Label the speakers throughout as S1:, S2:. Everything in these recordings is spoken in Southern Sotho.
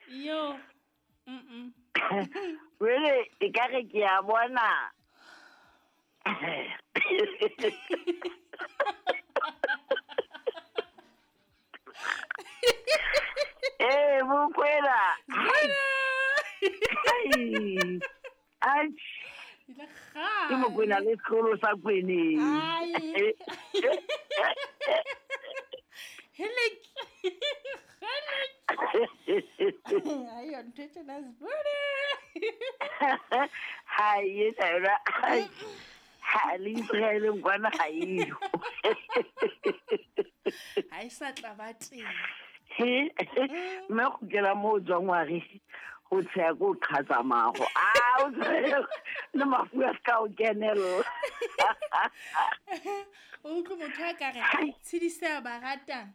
S1: Yo.
S2: Jwale e ka re ke a bona. Ee, Mokwena. Ai. Ai.
S1: Ile kgale.
S2: Ke Mokwena le sekolo sa Kweneng.
S1: Ai. Helek. Helek. Ai, ntho e tjena Sbuda.
S2: Ha e yona. Ha le Israeleng kwana ha eyo.
S1: Ha e sa tla ba teng.
S2: He, mme go kgutlela mo o tswang wa re go tsheya ko o qhatsa mago. A o tsheya le mafu a se ka o kenella.
S1: O utlwe motho a ka re tshediseha ba ratang.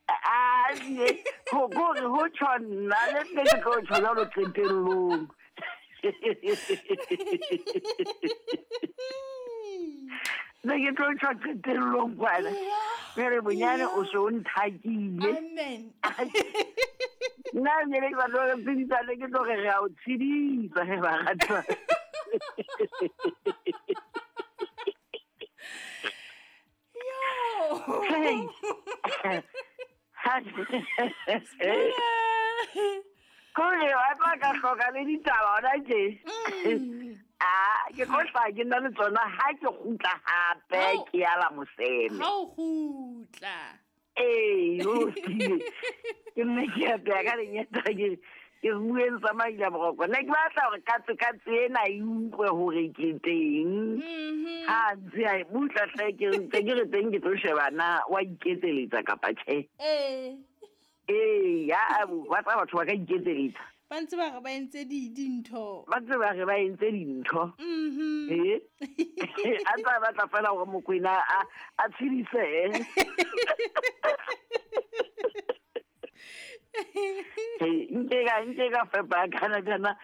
S2: A go gore go tjho nna le nne ke tlo tjho jwalo qetellong. Ne ke tlo tjho qetellong kwana. Jwale bonyane o se o nthakile.
S1: Amen.
S2: Nna ne ke batla hore tshedisane, ke tlo re re a o tshedisa he ba ratwa.
S1: Yo.
S2: Hey. Kore wa tla ka hloka le ditaba hona tje. A ke tlo hlaha ke nna le tsona ha ke kgutla hape ke ya la moseme.
S1: Ha o kgutla.
S2: Ee, o lokile. Ke nne ke apeya ka lenyata ke ke bueng tsa maila boroko. Ne ke batla hore katse katse ena e utlwe hore ke teng. Ha ntse a e butla hle ke ntse ke re teng ke tlo sheba na wa iketseletsa kapa tjhe.
S1: Ee.
S2: Ee, ya ba tla batho ba ka iketseletsa.
S1: Ba ntse ba re ba entse dintho.
S2: Ba ntse ba re ba entse dintho. Ee. A ntse a batla fela hore Mokwena a tshedisehe. Nke ka fepa kana kana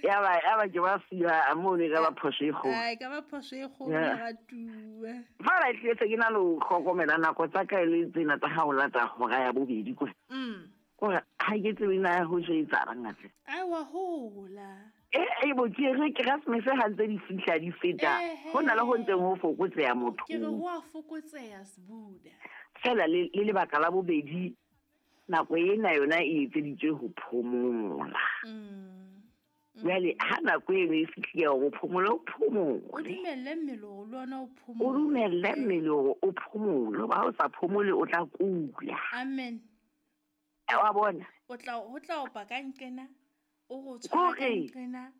S2: ya ba ke ba siya mo ne ka ba phoso e kgolo.
S1: Ai, ka ba phoso e kgolo moratuwa.
S2: Fela e tletse ke na le ho hlokomela nako tsa ka e le tsena tsa ha o lata hora ya bobedi kwa. Kore ha ke tsebe na ho se etsahalang ngatle.
S1: Ai, wa hola.
S2: E bo ke re Keresemese ha ntse di fihla di feta. Ho na le ho ntseng ho fokotseha motho.
S1: Ke re ho a fokotseha Sbuda.
S2: Fela le lebaka la bobedi nako ena yona e etseditswe ho phomola. Jwale ha nako eno e fihlile hore o phomole, o phomole.
S1: O dumelle mmele hore le ona o phomole.
S2: O dumelle mmele hore o phomole, hoba ha o sa phomole o tla kula.
S1: Amen.
S2: Wa bona?
S1: O tla ho tla opa ka nqena, o go tshwara ka nqena.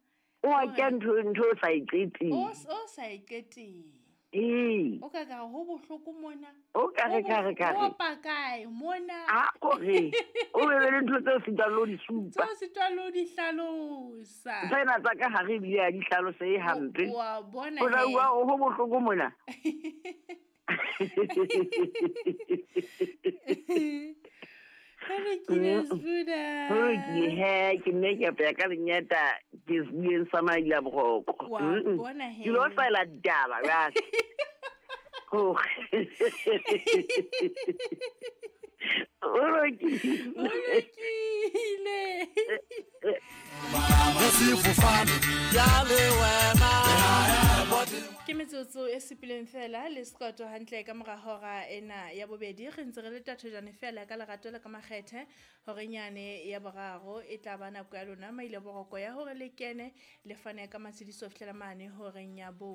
S2: O a kya ntho o sa e qeteng.
S1: O sa e qeteng.
S2: Ee.
S1: O ka ka ho bohloko mona.
S2: O ka re ka re ka re.
S1: O opa kae mona?
S2: A o re. O be le ntho tse sitwang le ho di supa.
S1: Tse sitwang le ho di hlalosa.
S2: Tsena tsa ka hare ebile ha di hlalosehe hampe.
S1: Wa bona
S2: O tla
S1: he.
S2: bua ho bohloko mona.
S1: Ho lokile Sbuda.
S2: Ho lokile he, ke nne ke apeya ka lenyata ke bueng sa maila boroko.
S1: Wa bona he.
S2: Ke lo saela ditaba jwale. Ho lokile.
S1: Ho lokile. Ke metsotso e supileng fela le sekoto hantle ka mora hora ena ya bobedi. Re ntse re le tathojane fela ka lerato le ka makgethe hore nyane ya boraro e tla ba nako ya lona maile boroko ya hore le kene le fane ka matshediso fihlela mane horeng ya bo.